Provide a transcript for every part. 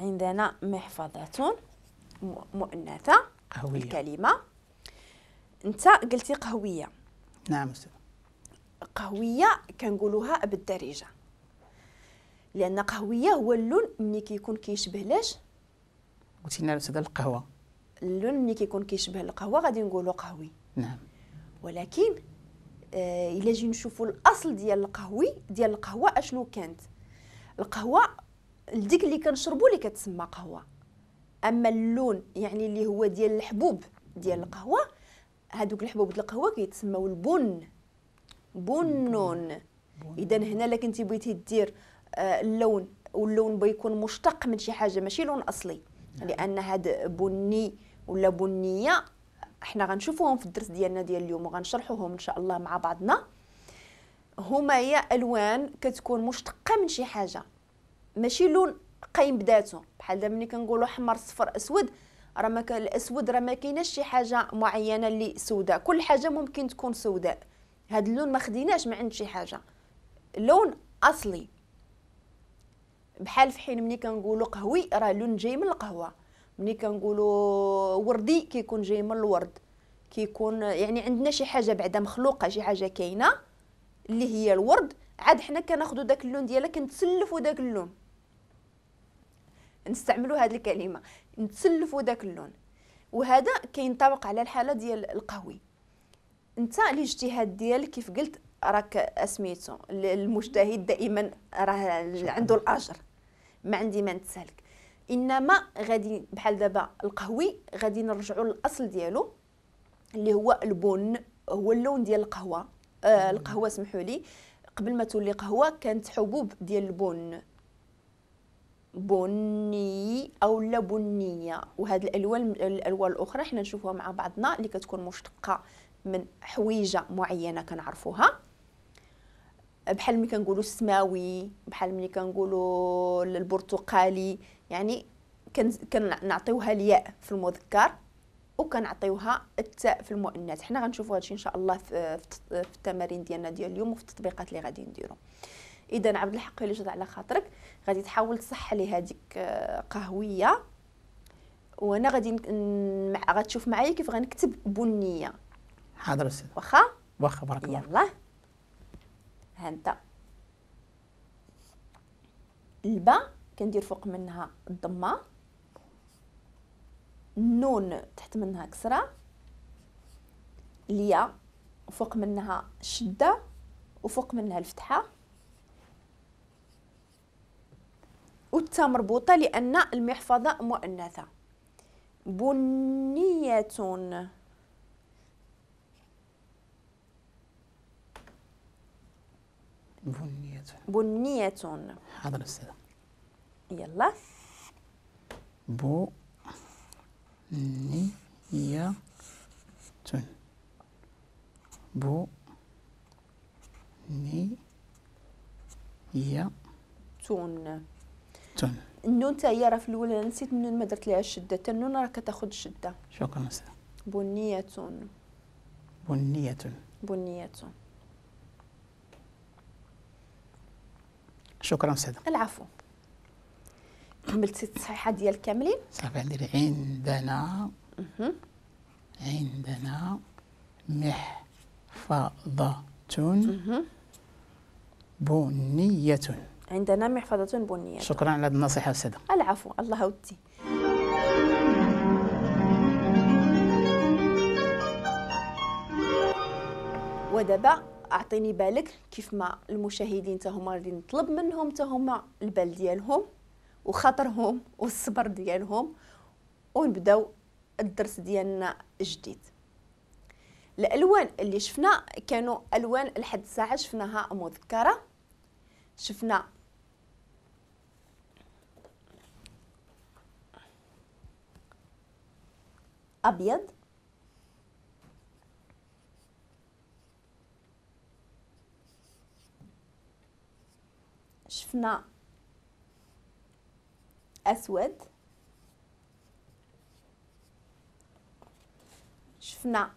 عندنا محفظة مؤنثة قهوية. الكلمة انت قلتي قهوية. نعم أستاذ. قهوية كنقولوها بالدارجة، لأن قهوية هو اللون ملي كيكون كيشبه لاش؟ قلتي لنا أستاذ القهوة. اللون ملي كيكون كيشبه القهوة غادي نقولوا قهوي. نعم. ولكن إلا جي نشوفوا الأصل ديال القهوي ديال القهوة أشنو كانت؟ القهوة ديك اللي كنشربوا اللي كتسمى قهوة. أما اللون يعني اللي هو ديال الحبوب ديال القهوة، هادوك الحبوب ديال القهوة كيتسموا البن، بنون. إذا هنا لا كنتي بغيتي دير اللون، واللون بيكون مشتق من شي حاجة ماشي لون أصلي، لأن هاد بني ولا بنية احنا غنشوفوهم في الدرس ديالنا ديال اليوم وغنشرحوهم ان شاء الله مع بعضنا. هما هي الوان كتكون مشتقة من شي حاجة، ماشي لون قايم بذاته. بحال دابا ملي كنقولوا احمر صفر اسود، راه ما كان الاسود راه ما كايناش شي حاجة معينة اللي سوداء، كل حاجة ممكن تكون سوداء. هاد اللون ما خديناش من عند شي حاجة، لون اصلي. بحال في حين ملي كنقولوا قهوي راه لون جاي من القهوة، ملي كنقولوا وردي كيكون جاي من الورد، كيكون يعني عندنا شي حاجة بعدا مخلوقه، شي حاجة كاينه اللي هي الورد، عاد حنا كناخذوا داك اللون ديالها كنتسلفوا داك اللون، نستعملوا هذه الكلمة نتسلفوا داك اللون. وهذا كينطبق على الحالة ديال القهوي. انت الاجتهاد ديالك كيف قلت راك اسميتو المجتهد دائما راه عنده الاجر، ما عندي ما نتسالك. انما غادي بحال دابا القهوي غادي نرجعوا للاصل ديالو اللي هو البن، هو اللون ديال القهوة. القهوة سمحوا لي، قبل ما تولي قهوة كانت حبوب ديال البن، بني او لا بنيه. وهاد الالوان الاخرى حنا نشوفوها مع بعضنا اللي كتكون مشتقة من حويجه معينة كنعرفوها، بحال ملي كنقولوا السماوي، بحال ملي كنقولوا البرتقالي، يعني كنعطيوها الياء في المذكر وكنعطيوها التاء في المؤنث. حنا غنشوفوا هادشي ان شاء الله في التمارين ديالنا ديال اليوم وفي التطبيقات اللي غادي نديرو. اذا عبد الحق اللي جات على خاطرك غادي تحاول تصح لي هذيك قهويه، وانا غادي غتشوف معايا كيف غنكتب بنيه. حاضر استاذ. واخا واخا بارك الله. يلا ها انت الباء كندير فوق منها الضمة، النون تحت منها كسره، الياء فوق منها الشدة وفوق منها الفتحة، والتاء مربوطة لان المحفظة مؤنثة. بنيه. بنية. بنية. حاضر أستاذ. يلا. بو نية بو ني يا تون. تون. النون تا هي راه في الاول انا نسيت النون ما درت ليها الشدة، حتى النون راه كتاخذ الشدة. شكرا أستاذ. بنية. بنية. بنية. شكرا أستاذ. العفو. كملتي التصحيحه ديال كاملين؟ صافي عندي عندنا عندنا محفظة بنية. عندنا محفظة بنية. شكرا على هذه النصيحة أستاذة. العفو، الله ودي. ودابا اعطيني بالك كيف ما المشاهدين تا هما غادي نطلب منهم تا هما البال ديالهم وخاطرهم والصبر ديالهم، ونبداو الدرس ديالنا جديد. الالوان اللي شفنا كانوا الوان لحد الساعة شفناها مذكره، شفنا ابيض، شفنا اسود، شفنا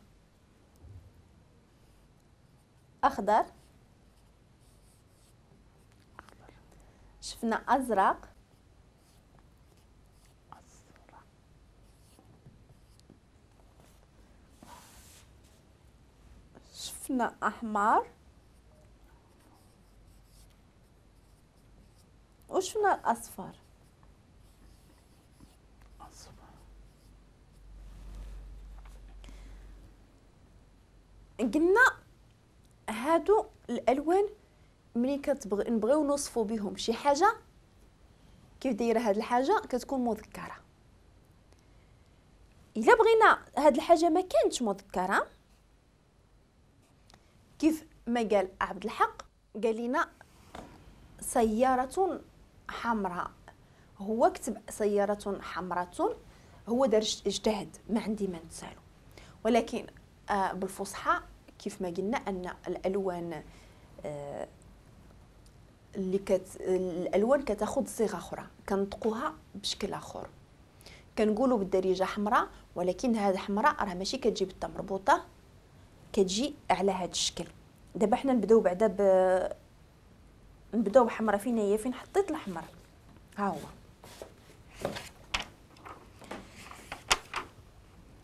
اخضر، شفنا ازرق، شفنا احمر، وشفنا الاصفر. قلنا هادو الالوان ملي كتبغي نبغيو نوصفوا بهم شي حاجة كيف دايرة هاد الحاجة كتكون مذكره. الا بغينا هاد الحاجة ما كانتش مذكره كيف ما قال عبد الحق، قال لنا سيارة حمراء، هو كتب سيارة حمراء، هو دار اجتهد، ما عندي ما نتسالو. ولكن بالفصحى كيف ما قلنا ان الالوان اللي الالوان كتاخذ صيغة اخرى، كنطقوها بشكل اخر، كنقولوا بالدارجة حمراء، ولكن هذه حمراء راه ماشي كتجي بالطا مربوطة، كتجي على هذا الشكل. دابا حنا نبداو بعدا نبداو بحمراء. فين هي؟ فين حطيت الحمر؟ ها هو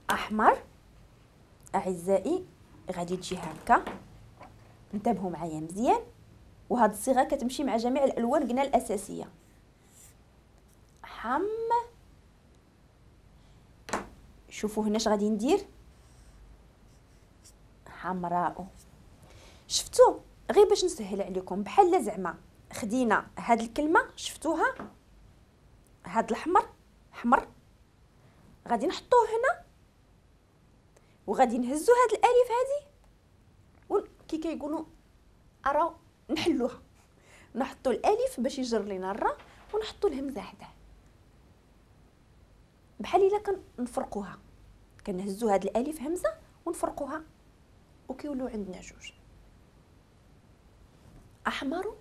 احمر اعزائي، غادي تجي هكا. انتبهوا معايا مزيان، وهاد الصيغة كتمشي مع جميع الالوان قلنا الاساسية. حم، شوفوا هنا اش غادي ندير، حمراء. شفتوا؟ غير باش نسهل عليكم، بحال زعما خدينا هاد الكلمة، شفتوها، هاد الحمر حمر، غادي نحطوه هنا وغادي نهزو هاد الالف هادي، وكي كيقولوا ارا نحلوها، نحطو الالف باش يجر لينا الرا، ونحطو الهمزة حداه، بحال الا كنفرقوها، كنهزو هاد الالف همزه ونفرقوها وكيولوا عندنا جوج. احمر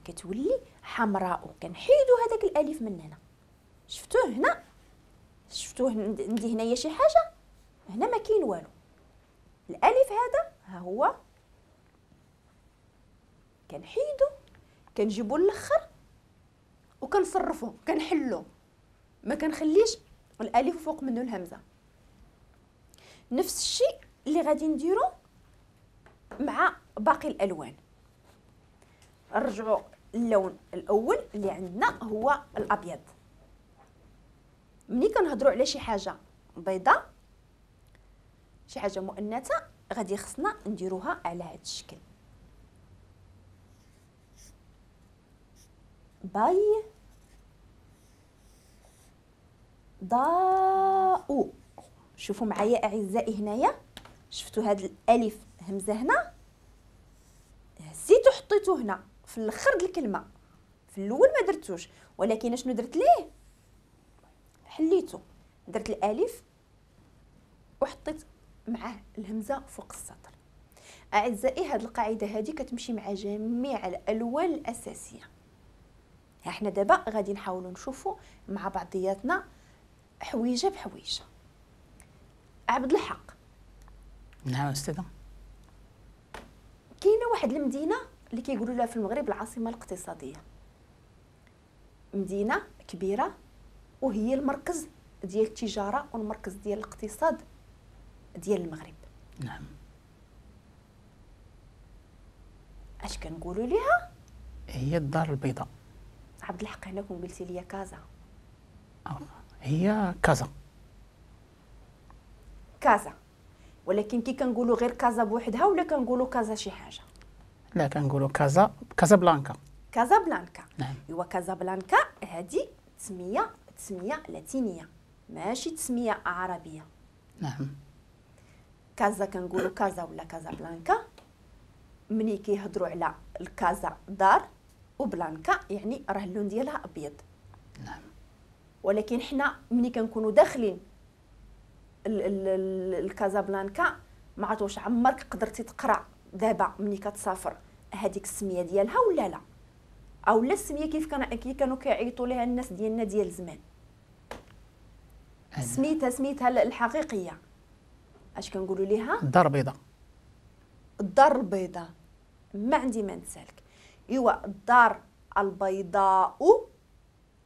كتولي حمراء، كنحيدو هذاك الالف من هنا. شفتوه هنا؟ شفتوه عندي هنايا شي حاجة؟ هنا ما كاين والو. الالف هذا ها هو كنحيدو، كنجيبو الاخر وكنصرفو، كنحلو، ما كنخليش الالف فوق منه الهمزة. نفس الشيء اللي غادي نديرو مع باقي الالوان. نرجعوا اللون الاول اللي عندنا هو الابيض. ملي كنهضروا على شي حاجة بيضاء، شي حاجة مؤنثة، غادي خصنا نديروها على هذا الشكل. باي ضاء. شوفوا معايا اعزائي هنايا، شفتوا هذا الالف همزه هنا، هزيتو حطيتو هنا في الاخر د الكلمة، في الاول ما درتوش، ولكن شنو درت ليه؟ حليتو، درت الالف وحطيت معاه الهمزة فوق السطر. اعزائي هذه القاعدة هذه كتمشي مع جميع الالوان الاساسية. احنا دابا غادي نحاولوا نشوفوا مع بعضياتنا حويجه بحويجه. عبد الحق. نعم استاذه. كاينه واحد المدينة اللي كيقولوا لها في المغرب العاصمة الاقتصادية، مدينة كبيرة وهي المركز ديال التجارة والمركز ديال الاقتصاد ديال المغرب. نعم. اش كنقولوا ليها؟ هي الدار البيضاء. عبد الحق هنا كون قلتي لي كازا. هي كازا. كازا، ولكن كي كنقولوا غير كازا بوحدها ولا كنقولوا كازا شي حاجة؟ لا كنقولوا كازا، كازابلانكا. كازابلانكا. نعم. ايوا كازابلانكا هذه تسميه لاتينيه، ماشي تسميه عربية. نعم. كازا كنقولوا كازا ولا كازابلانكا ملي كيهضروا على الكازا دار، وبلانكا يعني راه اللون ديالها ابيض. نعم. ولكن حنا ملي كنكونوا داخلين الكازابلانكا ما عرفت واش عمرك قدرتي تقرا دابا ملي كتسافر هذيك السمية ديالها ولا لا، او لا السمية كيف كانوا كيعيطوا لها الناس ديالنا ديال زمان، سميتها الحقيقية اش كنقولوا ليها؟ الدار البيضاء. الدار البيضاء، ما عندي ما نسالك. ايوا الدار البيضاء